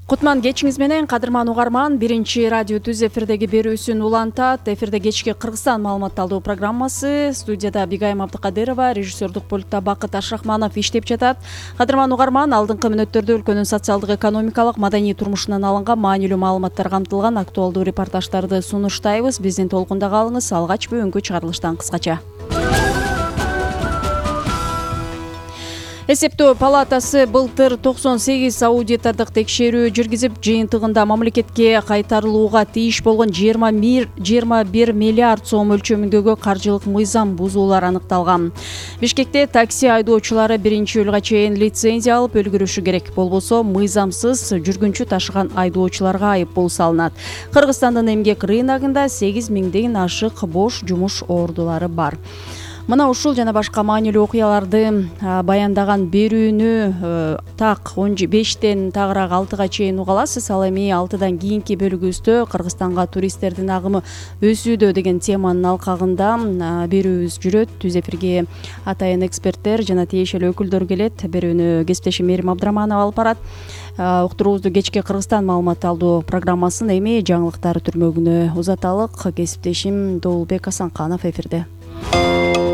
Кутман кечиңиз менен, кадырман угарман. Биринчи радио түз эфирдеги берүүсүн улантат. Эфирде кечки Кыргызстан маалымат алуу программасы. Студияда Бигайым Абдыкадырова, режиссердук пультта Бакыт Ашрахманов иштеп жатат. Кадырман угарман, алдыңкы мүнөттөрдө өлкөнүн социалдык, экономикалык, маданий турмушунан алынган маанилүү маалыматтар камтылган актуалдуу репортаждарды сунуштайбыз. Биздин толкунда калыңыз. Алгач бүгүнкү чыгарылыштан кыскача. Эсептөө палатасы былтыр 98 аудитордук текшерүү жүргүзүп, жыйынтыгында мамлекетке кайтарылууга тийиш болгон 21 миллиард сом өлчөмүндөгү каржылык мыйзам бузуулар аныкталган. Бишкекте такси айдоочулары 1-июлга чейин лицензия алып өлгүрүшү керек. Болбосо мыйзамсыз жүргүнчү ташыган айдоочуларга айыппул салынат. Кыргызстандын эмгек рыногунда 8 миңден ашык бош жумуш ордулары бар. Мына ушул жана башка маанилүү окуяларды баяндаган берүүнү так 5тен тагыраак 6га чейин уга аласыз. Ал эми 6дан кийинки бөлүгүбүздө Кыргызстанга туристтердин агымы өсүүдө деген теманын алкагында берүүбүз жүрөт. Түз эфирге атайын эксперттер жана тиешелүү өкүлдөр келет. Берүүнү кесиптешим Мерим Абдыраманова алып барат. Уктуруубузду кечки Кыргызстан маалымат алуу программасын эми жаңылыктар түрмөгүнө узаталык. Кесиптешим Доолбек Асанканов эфирде.